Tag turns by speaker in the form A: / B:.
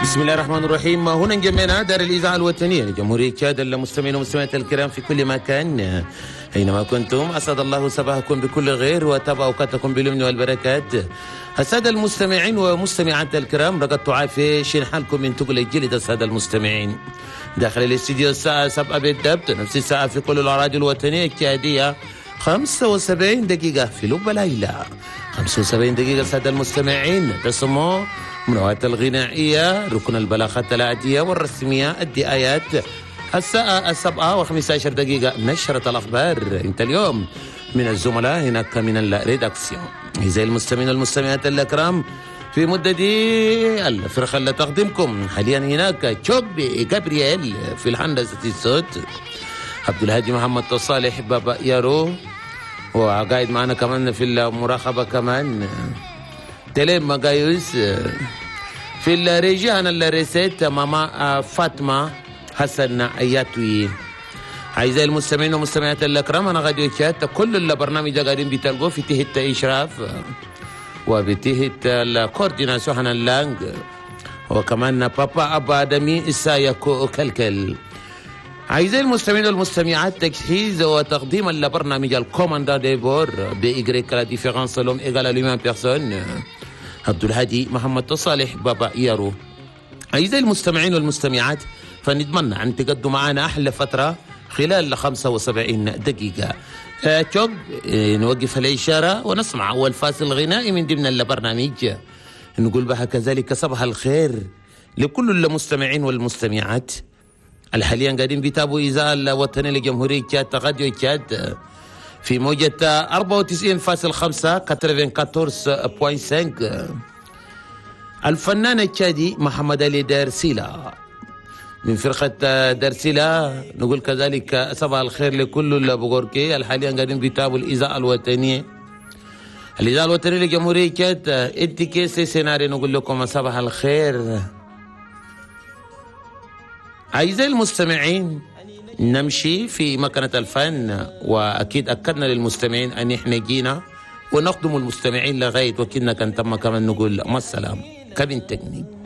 A: بسم الله الرحمن الرحيم. هنا جمعنا دار الإذاعة الوطنية لجمهورية تشاد، المستمعين والمستمعات الكرام في كل مكان أينما كنتم، أسعد الله صباحكم بكل خير وتابع أوقاتكم باليمن والبركات. السادة المستمعين ومستمعات الكرام، رقدتوا عافية، شين حالكم من تقل الجلد. السادة المستمعين داخل الاستديو الساعة 7 بالضبط، نفس الساعة في كل الأراضي الوطنية التشادية، 75 دقيقة في لب ليلى، 75 دقيقة. السادة المستمعين تسمعوا منوعات الغنائية، ركن البلاغات العادية والرسمية، الدعايات. الساعة 7:15 نشرة الأخبار. انت اليوم من الزملاء هناك من ال rédaction. أعزائي المستمعين والمستمعات الأكرام، في مدة دي الفرقة اللي تقدمكم حاليا هناك تشوبي جابرييل في الهندسة الصوت، عبد الهادي محمد صالح بابا يارو، وقاعد معنا كمان في المراقبة كمان تلم مقايوس، في الريجي أنا الريسيت ماما فاطمة حسن أياتوي. أعزائي المستمعين والمستمعات الأكرام، أنا غادي تشات كل البرنامج قاعدين بتلقوه في تهت إشراف وبتهت ال coordination هنا اللانج، وكمان بابا أبا آدمي إسايا كلكل. أعزائي المستمعين والمستمعات، تجهيز وتقديم البرنامج ال commandant de bord بإجريك la différence l'homme égale l'humain personne عبد الهادي محمد صالح بابا يارو. أعزائي المستمعين والمستمعات، فنتمنى أن تقضوا معنا أحلى فترة خلال 75 دقيقة. توب نوقف الإشارة ونسمع أول فاصل غنائي من ضمن البرنامج، نقول بها كذلك صباح الخير لكل المستمعين والمستمعات الحاليا قاعدين بيتابعوا إذاعة الوطنية لجمهورية تشاد راديو تشاد في موجة 94.5 94.5. الفنان التشادي محمد علي دارسيلا من فرقة دارسيلا، نقول كذلك صباح الخير لكل البغوركي الحاليا قاعدين بيتابعوا الإذاعة الوطنية، الإذاعة الوطنية لجمهورية تشاد. انت كيسي سيناري، نقول لكم صباح الخير. أعزائي المستمعين، نمشي في مكنة الفن، وأكيد أكدنا للمستمعين أن إحنا جينا ونخدم المستمعين لغاية وكنا كان تم كمان نقول مع السلامة. cabine technique.